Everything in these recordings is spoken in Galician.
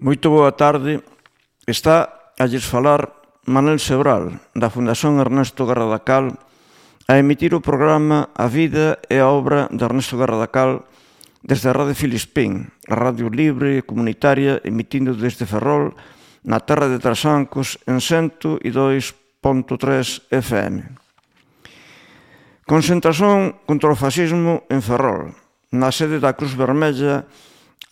Moito boa tarde. Está a lles falar Manel Sebral, da Fundación Ernesto Garradacal, a emitir o programa A Vida e a Obra de Ernesto Garradacal desde a Radio Filispín, a radio libre e comunitaria emitindo desde Ferrol, na terra de Trasancos, en 102.3 FM. Concentración contra o fascismo en Ferrol, na sede da Cruz Vermella,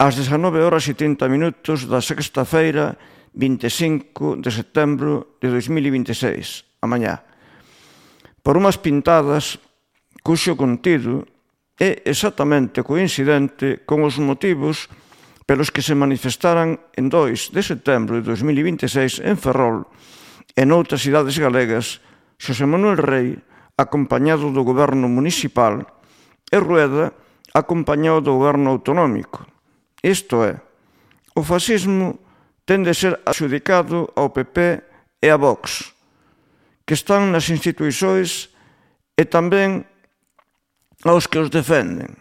ás 19h30 da sexta-feira 25 de setembro de 2026, a mañá. Por unhas pintadas cuxo contido é exactamente coincidente con os motivos pelos que se manifestaran en 2 de setembro de 2026 en Ferrol e noutras cidades galegas Xosé Manuel Rei acompañado do goberno municipal e Rueda acompañado do goberno autonómico. Isto é, o fascismo ten de ser adxudicado ao PP e a Vox, que están nas instituições e tamén aos que os defenden.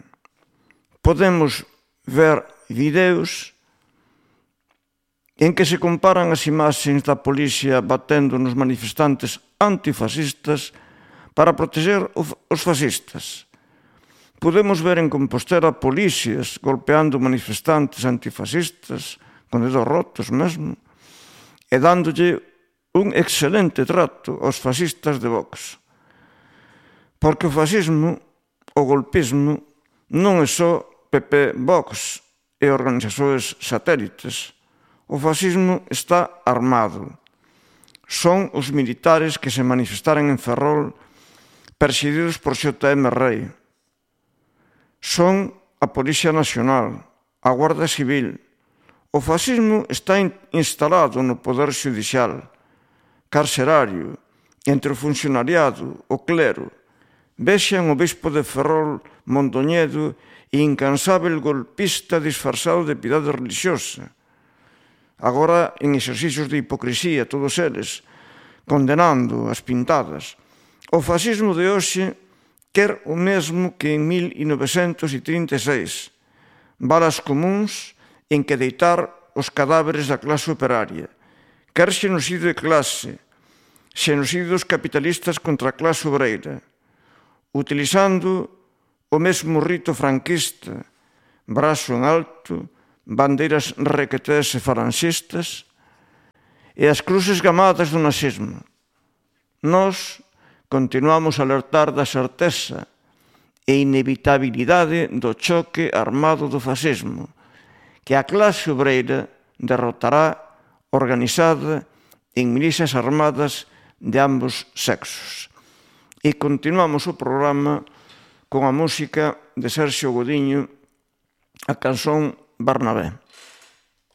Podemos ver videos en que se comparan as imaxes da policía batendo nos manifestantes antifascistas para proteger os fascistas. Podemos ver en Compostela policías golpeando manifestantes antifascistas, con dedos rotos mesmo, e dándolle un excelente trato aos fascistas de Vox. Porque o fascismo, o golpismo, non é só PP, Vox e organizacións satélites. O fascismo está armado. Son os militares que se manifestaran en Ferrol perseguidos por J.M. Rei. Son a Policía Nacional, a Guardia Civil. O fascismo está instalado no poder xudicial, carcerario, entre o funcionariado, o clero. Vexan o bispo de Ferrol, Mondoñedo, incansável golpista disfrazado de piedade religiosa. Agora en exercicios de hipocresía, todos eles, condenando as pintadas. O fascismo de hoxe quer o mesmo que en 1936, balas comuns en que deitar os cadáveres da clase operaria. Quer xenocidio de clase, xenocidio dos capitalistas contra a clase obreira, utilizando o mesmo rito franquista, brazo en alto, bandeiras requetés e falanxistas, e as cruces gamadas do nazismo. Nós continuamos a alertar da certeza e inevitabilidade do choque armado do fascismo, que a clase obreira derrotará organizada en milicias armadas de ambos sexos. E continuamos o programa con a música de Sergio Godiño, a canción Bernabé.